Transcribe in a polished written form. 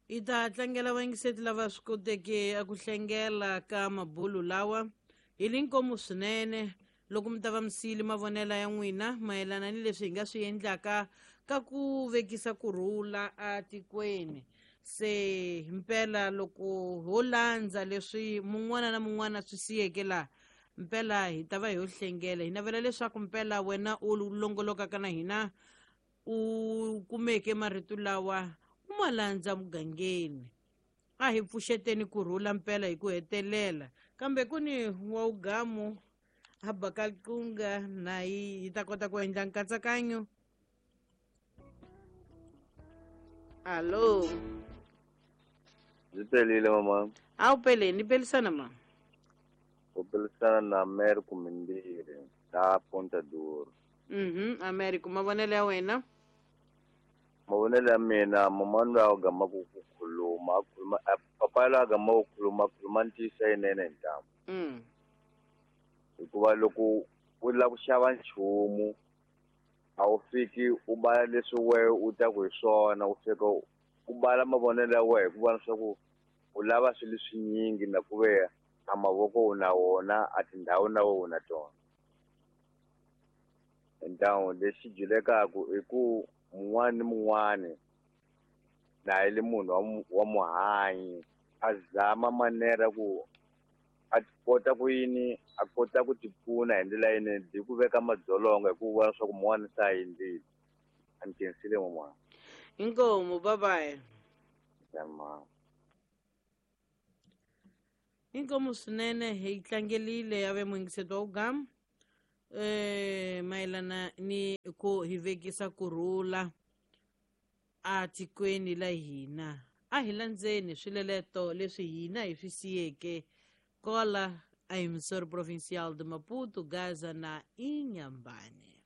Hi ta tlangela vayingiseti lava swi koteke a ku hlengela ka mabulu lawa hi li nkomu swinene loko mi ta va mi siyile mavonelo ya n'wina mayelana ni leswi hi nga swi endlaka ka ku vekisa kurhula atikweni. Se mpela loko ho landza leswi mun'wana na mun'wana swi siyeke laha, mpela hi ta va hi yo hlengela. Hi navela leswaku mpela wena u longolokaka na hina u kumeke marito lawa u ma landza mugangeni. A hi pfuxeteni kurhula mpela hi ku hetelela, kambe ku ni wa ugamu a baka liqunga na yi ta kota ku endla nkatsakanyo. Alo, ndzi pelile mama. A wu peleni, ni pelisana ma? U pelisana na Americo Mimbirhi la Ponta Duro. Americo, mavonelo ya wena? Mavonelo ya mina, mama loyi a gamaka ku khuluma, a khuluma papa loyi a gamaka ku khuluma, khuluma ntiyiso yinene hi ntamu. Hikuva loko u lava ku xava nchumu a wu fiki u bala leswi wehe u taku hi swona, u fika u bala mavonelo ya wehe hikuva leswaku u lava swilo leswinyingi na ku ve a mavoko u na wona, a tindhawu na wehe u na tona. Ntamu lexi dyulekaku i ku mun'wana ni mun'wana na yi le munhu wa muhanyi a zama manera ku a kota ku yini, a kota ku tipfuna hi ndlela yinene hi ku veka madzolonga hi ku vona leswaku mun'wana se a endlile. A ni khensile man'wana. Inkomu, bye bye. Inkomu swinene, hi tlangelile ya ve muyingiseti wa ugamu mayelana ni ku hi vekisa kurhula atikweni la hina. A hi landzeni swileleto leswi hina hi swi siyeke kola a emissora provincial de Maputo, Gaza na Inhambane.